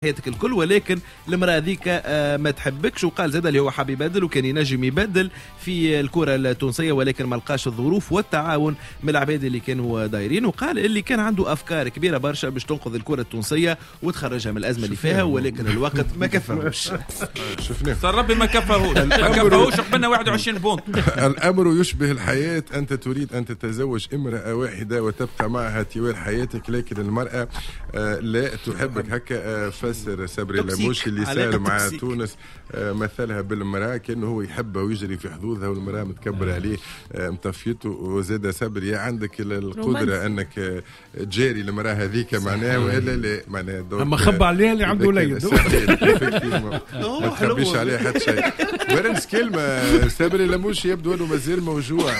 حياتك الكل، ولكن المراة هذيك ما تحبكش. وقال زاد اللي هو حاب يبدل وكان ينجم يبدل في الكره التونسية، ولكن ما لقاش الظروف والتعاون من العباد اللي كانوا دايرين. وقال اللي كان عنده افكار كبيرة برشا باش تنقذ الكره التونسية وتخرجها من الازمة اللي فيها، ولكن الوقت ما كفاهوش. شفناه. صار ربي ما كفاهوش، ما كفاهوش، قبلنا 21 point. الأمر يشبه الحياة، أنت تريد أن تتزوج امرأة واحدة وتبقى معها طوال حياتك، لكن المرأة لا تحبك. هكا فسر صبري toxique. لموشي اللي صار علاقة مع toxique. تونس، مثلها بالمرأة، كأنه هو يحبها ويجري في حظوظها والمرأة متكبرة عليه، مطفيته. وزاد صبري عندك القدرة رومانسي. أنك تجاري المرأة هذيك معناها وإلا لا معناها. donc اما خبى عليها اللي عنده إذا كان وليد. صحيح، effectivement. هو ما تخبيش حلو. عليه حتى شيء. ورنس كلمة، صبري لموشي يبدو أنه مازال موجوع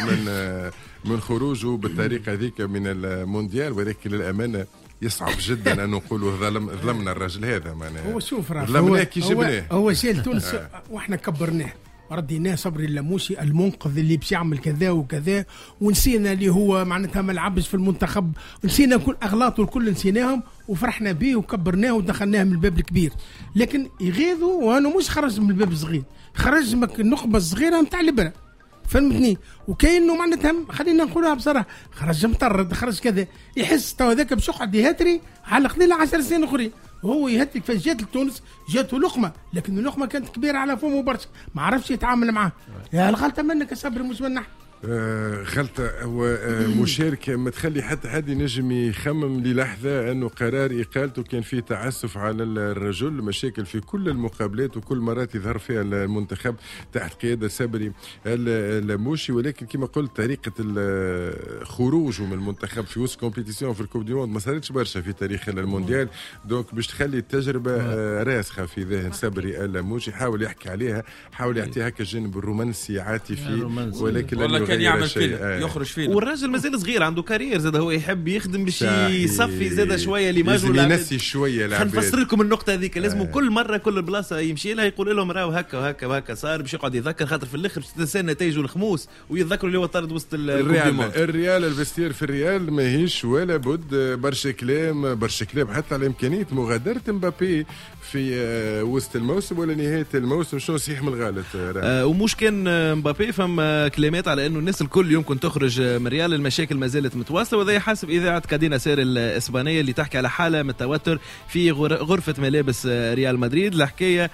من خروجه بالطريقة هذيك من المونديال، ولكن للأمانة يصعب جدا أن نقولوا ظلمنا الرجل هذا معناها. هو شوف راه ظلمناه هو كي هو, جبناه. هو شال تونس واحنا كبرناه، رديناه صبري اللموشي المنقذ اللي باش يعمل كذا وكذا، ونسينا اللي هو معناتها ما لعبش في المنتخب، نسينا كل اغلاطه الكل نسيناهم، وفرحنا به وكبرناه ودخلناه من الباب الكبير. لكن يغيظوا وانه مش خرج من الباب الصغير، خرج من النقبه الصغيرة نتاع البرة، فهمتني؟ وكانه معناتها خلينا نقولها بصراحة خرج مطرد، خرج كذا، يحس تو هذاك باش يقعد يهتري على قليله 10 سنين اخرين. وهو يهتري كيفاش جات لتونس، جاته لقمه، لكن اللقمة كانت كبيرة على فمه برشا، ما عرفش يتعامل معاه. يا الغلطة منك يا صبري مش من نحن. غلطة هو مشاركة ما تخلي حتى حد ينجم يخمم للحظة أنه قرار إقالته كان فيه تعسف على الرجل. مشاكل في كل المقابلات وكل مرات يظهر فيها المنتخب تحت قيادة صبري اللموشي، ولكن كما قلت طريقة خروجه من المنتخب في وسط compétition في ال coupe du monde ما صارتش برشا في تاريخ المونديال، donc باش تخلي التجربة راسخة في ذهن صبري اللموشي. حاول يحكي عليها، حاول يعطيها هكا الجانب الرومانسي عاطفي، الرومانسي. ولكن لن والله كان يغير يعمل شيء. فيلم يخرج فيلم. والراجل مازال صغير، عنده carrière زاد، هو يحب يخدم باش صحيح. يصفي زاد شوية l'image. لازم والعباد. ينسي شوية خلينا العباد. نفسر لكم النقطة هذيك، لازم كل مرة كل بلاصة يمشي لها يقول لهم راهو هكا وهكا وهكا صار، باش يقعد يذكر، خاطر في الاخر باش تنسى النتائج والخموس ويتذكروا اللي هو طرد وسط ال coupe du الريال monde. الريال ال vestiaire في الريال ماهيش ولا بد، برشا كلام، برشا كلام حتى على امكانية مغادرة مبابي في وسط الموسم ولا نهاية الموسم. شنو صحيح من الغلط راه؟ ومش كان مبابي، فما كلمات على انه الناس الكل يمكن تخرج من ريال، المشاكل ما زالت متواصله، وهذا حسب اذاعة كادينا سير الاسبانية اللي تحكي على حاله من التوتر في غرفة ملابس ريال مدريد. الحكاية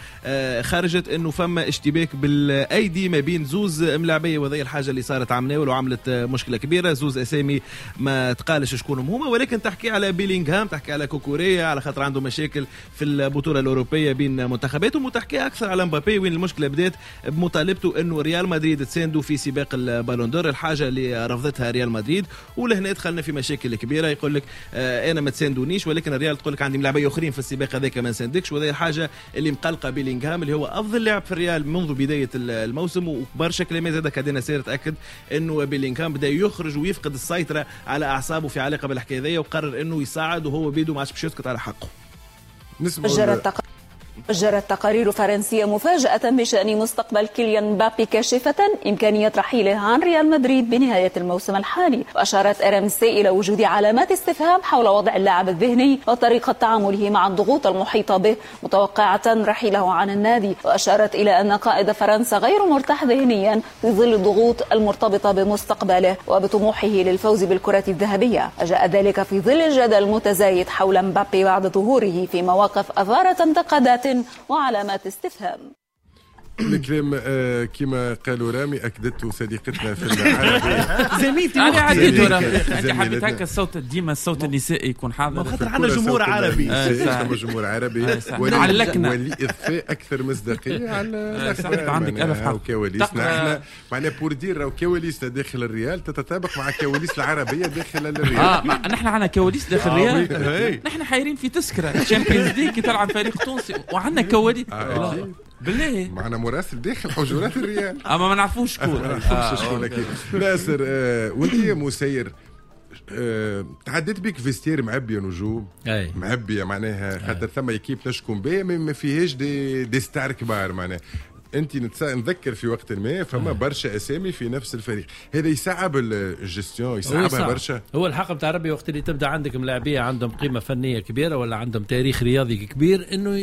خرجت انه فما اشتباك بالايدي ما بين زوز ملاعبيه، وهذه الحاجة اللي صارت عمناول وعملت مشكلة كبيره. زوز اسامي ما تقالش شكونهم هما، ولكن تحكي على بيلينغهام، تحكي على كوكوريا على خاطر عنده مشاكل في البطولة الاوروبية بين منتخباتهم، وتحكي اكثر على مبابي وين المشكلة بدات بمطالبته انه ريال مدريد تساندو في سباق ال Ballon d'Or، الحاجة اللي رفضتها ريال مدريد، ولهنا دخلنا في مشاكل كبيره. يقول لك انا ما تساندونيش، ولكن الريال تقول لك عندي ملاعبيه اخرين في السباق هذاك ما نساندكش. وهذه الحاجة اللي مقلقة بيلينغهام اللي هو افضل لاعب في الريال منذ بداية الموسم. وبرشا كلمات زاد كادينا سير تاكد انه بيلينغهام بدا يخرج ويفقد السيطرة على اعصابه في علاقة بالحكاية هذيا، وقرر انه يصعد وهو بيدو ما عادش باش يسكت على حقه. نسمعوا جرت تقارير فرنسية مفاجأة بشأن مستقبل كيليان مبابي، كاشفة إمكانية رحيله عن ريال مدريد بنهاية الموسم الحالي. وأشارت RMC إلى وجود علامات استفهام حول وضع اللاعب الذهني وطريقة تعامله مع الضغوط المحيطة به، متوقعة رحيله عن النادي. وأشارت إلى أن قائد فرنسا غير مرتاح ذهنيا في ظل الضغوط المرتبطة بمستقبله وبطموحه للفوز بالكرة الذهبية. جاء ذلك في ظل الجدل المتزايد حول مبابي بعد ظهوره في مواقف أثارت انتقادات وعلامات استفهام. الكلام كما قالوا رامي اكدته صديقتنا في العربي. زميلتي. انا وقتي. عديت زميلتنا. انت حبيت هكا الصوت، ديما الصوت النسائي يكون حاضر. خاطر عندنا جمهور عربي. صح. ثم جمهور عربي صح. علقنا. ولإضفاء أكثر مصداقية على صح، الأخبار. عندك معناها ألف حق. وكواليسنا تقرأ- احنا معناها pour dire راهو كواليسنا داخل الريال تتطابق مع كواليس العربية داخل الريال. نحن عندنا كواليس داخل الريال. oui. نحن حايرين في تسكره Champions League كي تلعب فريق تونسي وعندنا كواليس. أكيد. بالله؟ معنا مراسل داخل حجرات الريال. اما ما نعرفوش شكون. ما نعرفوش شكون اكيد. ناصر، وانت يا مسير، تعديت بيك vestiaire معبيه نجوم معبيه معناها، خاطر ثم équipe نشكون بها ما فيهاش des stars كبار معناها. انت نذكر في وقت ما فما برشا اسامي في نفس الفريق، هذا يصعب الجستيون، يصعبها برشا. هو الحق نتاع ربي وقت اللي تبدا عندك ملاعبيه عندهم قيمة فنية كبيرة ولا عندهم تاريخ رياضي كبير، انه